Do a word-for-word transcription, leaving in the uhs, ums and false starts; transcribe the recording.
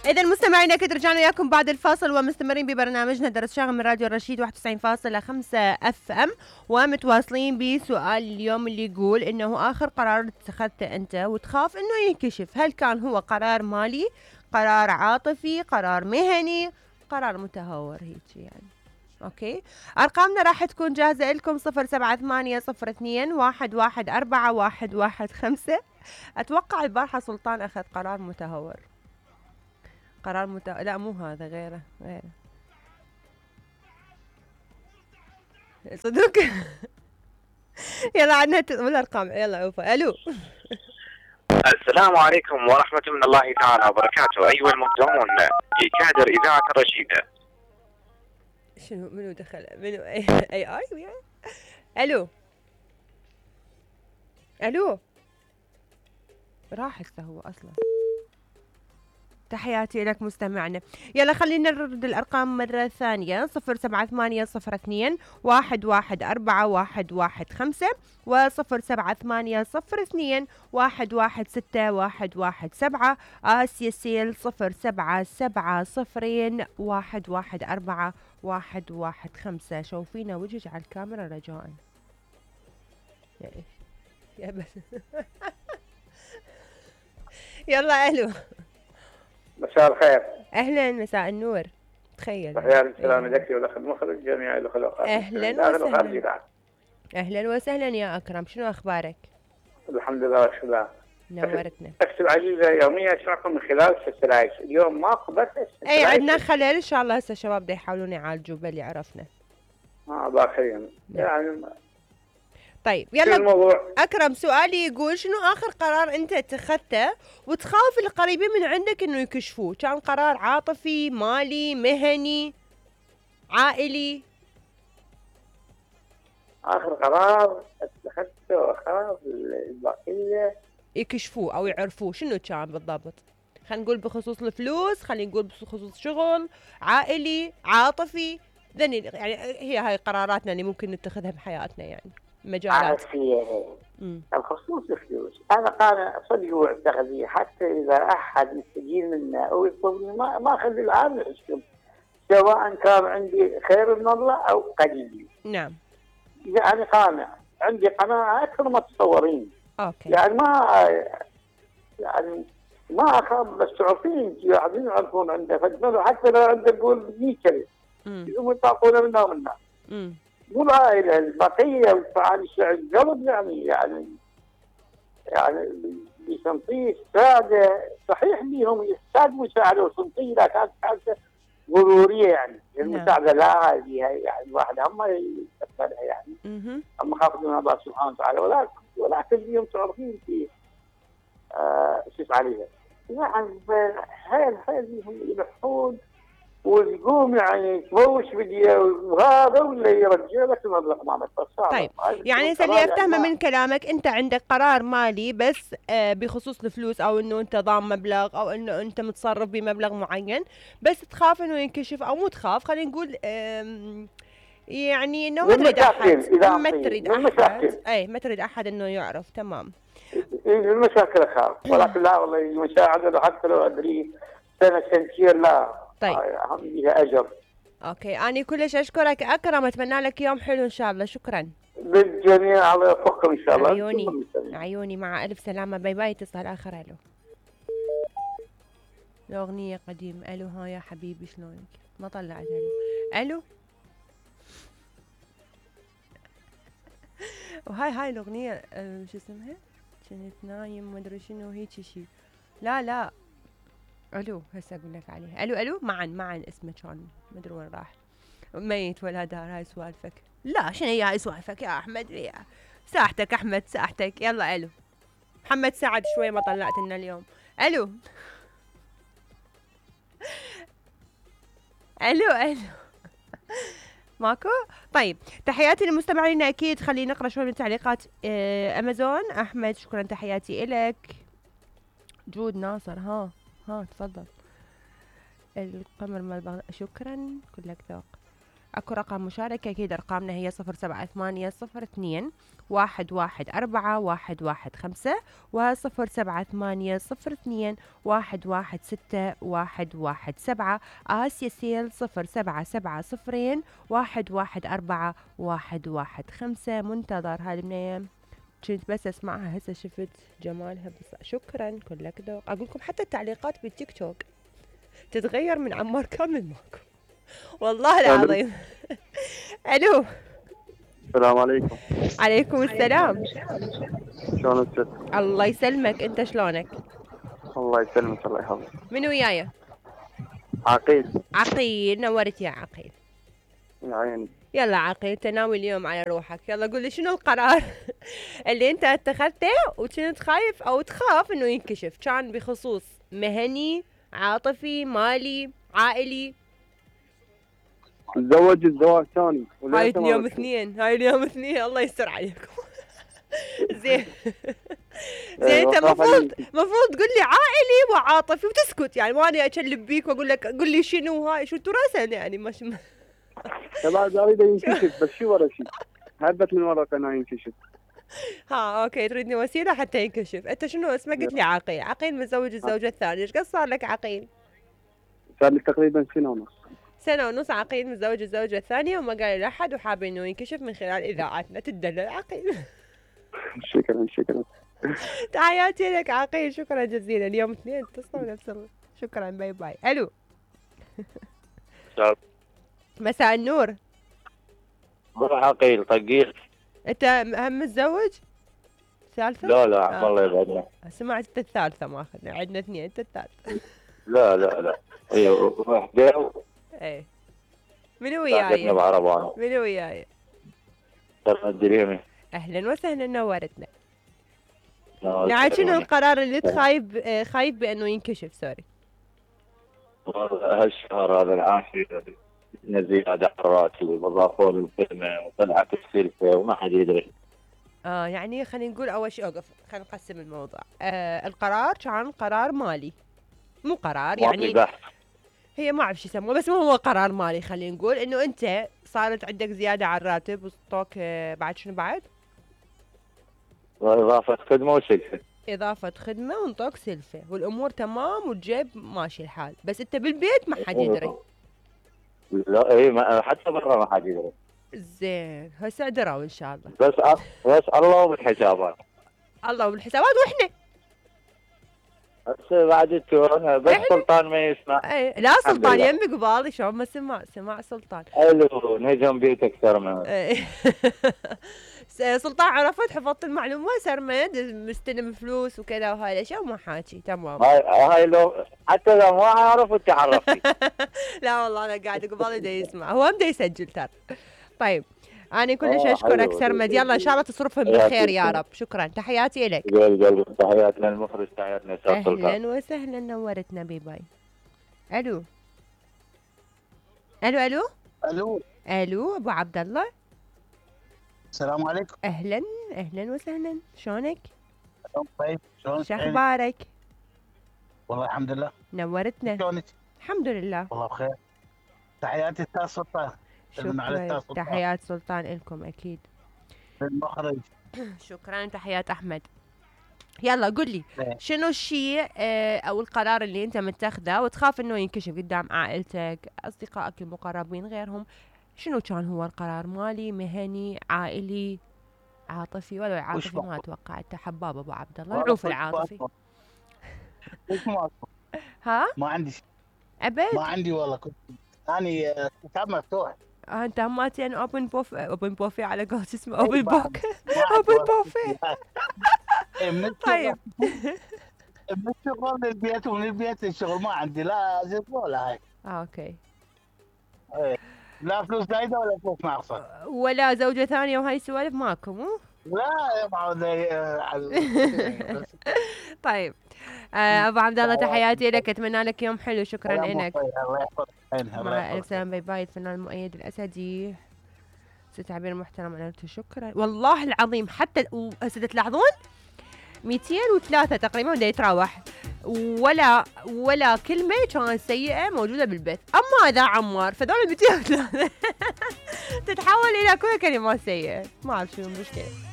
إذا مستمعينا أكيد رجعنا وياكم بعد الفاصل ومستمرين ببرنامجنا درس شاغل من راديو الرشيد واحد وتسعين فاصلة خمسة اف ام، ومتواصلين بسؤال اليوم اللي يقول إنه آخر قرار اتخذته أنت وتخاف إنه ينكشف، هل كان هو قرار مالي، قرار عاطفي، قرار مهني، قرار متهور هيك يعني. اوكي، ارقامنا راح تكون جاهزة لكم صفر سبعة ثمانية صفر اثنين واحد واحد اربعة واحد واحد خمسة. اتوقع البارحة سلطان اخذ قرار متهور، قرار مت... لا مو هذا، غيره غيره صدق. يلا عنا الارقام، يلا عوفة. الو السلام عليكم ورحمة من الله تعالى وبركاته. أيها المبدعون في كادر إذاعة الرشيدة. شنو منو دخل؟ منو اي اي اي وياي؟ الو الو راح هسه هو اصلا. تحياتي لك مستمعنا. يلا خلينا نرد الارقام مرة ثانية، صفر سبعة ثمانية صفر اثنين واحد واحد اربعة واحد واحد خمسة وصفر سبعة ثمانية صفر اثنين واحد واحد ستة واحد واحد سبعة. آسيا سيل صفر سبعة سبعة صفرين واحد واحد اربعة واحد واحد خمسة. شوفينا وجهك على الكاميرا رجاء. يا ايش يا بس. يلا الو. مساء الخير. اهلا، مساء النور. تخيل. تحياتي السلام لك ولك المخرج جميع الاخوات. اهلا وسهلا. اهلا وسهلا يا اكرم، شنو اخبارك؟ الحمد لله والشكر. نورتنا. اكتب عزيزه يوميا اسمعكم من خلال السلايس، اليوم ما قبلت اي عندنا خلل ان شاء الله، هسه الشباب دا يحاولون يعالجوا باللي عرفنا. اه الله يخليهم يعني. طيب يلا الموضوع. اكرم سؤالي يقول شنو اخر قرار انت اتخذته وتخاف القريبين من عندك انه يكشفوه؟ كان قرار عاطفي، مالي، مهني، عائلي؟ اخر قرار اتخذته وخاف البقيه يكشفوه او يعرفوه، شنو كان بالضبط؟ خلينا نقول بخصوص الفلوس، خلينا نقول بخصوص شغل، عائلي، عاطفي، ذني يعني هي هاي قراراتنا اللي ممكن نتخذها بحياتنا يعني مجالات. عافية. بخصوص الفلوس انا قاعد صدق واعتقادي، حتى اذا احد يستجيب منا او يطلبني ما ما اخلي العام يحسب، سواء كان عندي خير من الله او قليل. نعم. يعني قانع، عندي قناعه اكثر ما تتصورين. اوكي. يعني ما يعني ما اخاف، بس تعرفين انت قاعدين يعرفون عنده فجمله، حتى لو عنده يقول مية كلمه يقوموا يطاقون منا ومنا. امم مو العائله البقيه والفعال القلب يعني يعني يعني بسنطيه ساده صحيح ليهم يحتاج مساعده وسنطيه، لا كانت حاجه ضروريه يعني. المساعده لا هذه يعني الواحد هم يتقبلها يعني. هم خافوا من الله سبحانه وتعالى، ولكن ولكن اليوم تعرفين في آه شو عليها يعني حيل حيل هم يلحون ويقوم يعني تبوش بديه وهذا ولا يرجع لك المبلغ مالك. طيب يعني اللي افتهمه من كلامك انت عندك قرار مالي بس آه بخصوص الفلوس، او انه انت ضام مبلغ، او انه انت متصرف بمبلغ معين، بس تخاف انه ينكشف، او مو تخاف خلينا نقول يعني انه ما تريد احد ما تريد احد اي ما تريد احد انه يعرف. تمام. المشاكل اخاف، ولكن لا والله المساعده حتى لو ادري سنه سنتين لا. طيب هم لها اجر. اوكي، اني كلش اشكرك اكرم، اتمنى لك يوم حلو ان شاء الله. شكرا بالجميع، الله يوفقكم ان شاء الله. عيوني عيوني، مع الف سلامه. باي باي. اتصال اخر. الو الاغنيه قديمه. الو ها يا حبيبي شلونك؟ ما طلعت. الو الو وهاي هاي الاغنيه أه شو اسمها؟ كنت نايم ما ادري شنو هيك شيء. لا لا الو هسه اقول لك عليها. الو الو معا معا اسمه كان ما ادري وين راح، ميت ولا دار. هاي سوالفك. لا شنو هي هاي سوالفك يا احمد؟ يا ساحتك احمد ساحتك. يلا الو محمد سعد شوي ما طلعت لنا اليوم. الو الو الو ماكو. طيب تحياتي للمستمعين اكيد. خلينا نقرا شوي من تعليقات اه امازون. احمد شكرا تحياتي الك. جود ناصر ها ها تفضل. القمر مال بغداد شكرا كلك ذوق. اكو رقم مشاركة، اكيد ارقامنا هي صفر سبعة ثمانية صفر اثنين واحد واحد أربعة واحد واحد خمسة وصفر سبعة ثمانية صفر اثنين واحد واحد ستة واحد واحد سبعة. آسيا سيل صفر سبعة سبعة صفرين واحد واحد أربعة واحد واحد خمسة. منتظر هاي البنية، كنت بس اسمعها هسه شفت جمالها بس. شكرا كلك ذوق. اقول لكم حتى التعليقات بالتيك توك تتغير من عمار كامل ماكو والله العظيم. الو السلام عليكم. عليكم السلام. شلونك؟ الله يسلمك، انت شلونك؟ الله يسلمك الله يحفظك. من وياي؟ عقيل. عقيل، نورت يا عقيل. يا عيني. يلا عقيل تناوي اليوم على روحك، يلا قول لي شنو القرار اللي انت اتخذته وكنت خايف او تخاف انه ينكشف، كان بخصوص مهني، عاطفي، مالي، عائلي؟ تزوج الزواج ثاني. هاي اليوم اثنين، هاي اليوم اثنين، الله يستر عليكم. زين زين انت المفروض المفروض تقول لي عائلي وعاطفي وتسكت، يعني ماني اكلب بيك واقول لك قول لي شنو هاي، شو تراسل يعني مش بعد اريد ينكشف بس شو ورا شيء هبت من ورا قناه ينكشف. ها اوكي، تريدني وسيله حتى ينكشف. انت شنو اسمك؟ قلت لي عقيل. عقيل متزوج الزوجه الثانيه، ايش قد صار لك عقيل؟ صار لي تقريبا سنه ونص. سنه ونص عقيل متزوج الزوجه الثانيه وما قال لاحد وحاب انه ينكشف من خلال اذاعتنا. تدلل عقيل. شكرا شكرا. تحياتي لك عقيل، شكرا جزيلا. اليوم اثنين اتصلوا نفس الوقت. شكرا، باي باي. الو مساء النور. روح عقيل طقيل. انت هم متزوج؟ ثالثة؟ لا لا عم الله يبعدنا. سمعت انت الثالثة ماخذنا، عندنا اثنين، انت الثالثة. لا لا لا اي وحده. ايه منو وياي؟ بعربانه. منو وياي؟ سلمى الدريمي. اهلا وسهلا، نورتنا. يعني شنو القرار اللي انت خايف خايف بانه ينكشف؟ سوري. هالشهر هذا العاشر زيادة على الراتب وضافوا له الخدمة وطلعت السلفة وما حد يدري. اه يعني خلينا نقول اول شيء اوقف، خلينا نقسم الموضوع. آه القرار كان قرار مالي، مو قرار يعني بحث. هي ما اعرف شو يسموه، بس مو هو قرار مالي. خلينا نقول انه انت صارت عندك زيادة على الراتب وصوتك آه بعد شنو بعد؟ وإضافة خدمة وسلفة. إضافة خدمة ونطوك سلفة والأمور تمام والجيب ماشي الحال، بس أنت بالبيت ما حد يدري. لا اي ما حتى برا ما حد يدري. زين هسه دروا إن شاء الله. بس أ... بس الله بالحسابات. الله بالحسابات وإحنا. هسه بعد التورن بس إحنا؟ سلطان ما يسمع. اي لا سلطان يمي قبالي شلون ما سمع، سمع سلطان. حلو نهجم بيت أكثر من. سلطان عرفت، حفظت المعلومة. سرمد مستلم فلوس وكذا وهاي الاشياء وما حاكي تمام. هاي هاي لو حتى لو ما عرف وانت عرفتي. لا والله انا قاعد قبالي دا يسمع، هو هم دا يسجل ترى. طيب انا كلش اشكرك سرمد، يلا ان شاء الله تصرفهم بالخير يا رب. شكرا، تحياتي لك. تحياتنا المخرج، تحياتنا سلطان. اهلا وسهلا، نورتنا. بي باي. الو الو الو الو الو ابو عبد الله. السلام عليكم. اهلا اهلا وسهلا، شلونك؟ طيب شلونك؟ شو اخبارك؟ والله الحمد لله. نورتنا. شلونك؟ الحمد لله والله بخير. تحياتي استاذ سلطان. شكرا، تحيات سلطان لكم اكيد. المخرج. شكرا، تحيات احمد. يلا قل لي شنو الشيء اه او القرار اللي انت متخذه وتخاف انه ينكشف قدام عائلتك، اصدقائك المقربين، غيرهم؟ شنو كان هو القرار؟ مالي، مهني، عائلي، عاطفي؟ ولا عاطفي ما اتوقع، انت حباب ابو عبد الله، العوف العاطفي. ها ما عندي شيء ابد، ما عندي والله. كنت اني كتاب مفتوح. آه انت هماتين اوبن بوف اوبن بوفي على قول اسمه اوبن بوك اوبن بوفي. طيب من الشغل للبيت ومن البيت للشغل، ما عندي لا زيت ولا هاي. اه اوكي. ايه لا فلوس زايده ولا فلوس ناقصه ولا زوجه ثانيه وهاي السوالف ماكو؟ مو لا يا معود. طيب آه ابو عبد الله تحياتي لك، اتمنى لك يوم حلو. شكرا لك. الله يحفظك. مع الف سلامه. باي باي. الفنان المؤيد الاسدي، ست عبير محترم، انا قلت شكرا والله العظيم. حتى هسه تلاحظون مئتين وثلاثة تقريبا ودا يتراوح ولا ولا كلمة كانت سيئة موجودة بالبيت. أما إذا عمار فذول المئتين وثلاثة تتحول إلى كل كلمات سيئة. ما أعرف شنو المشكلة.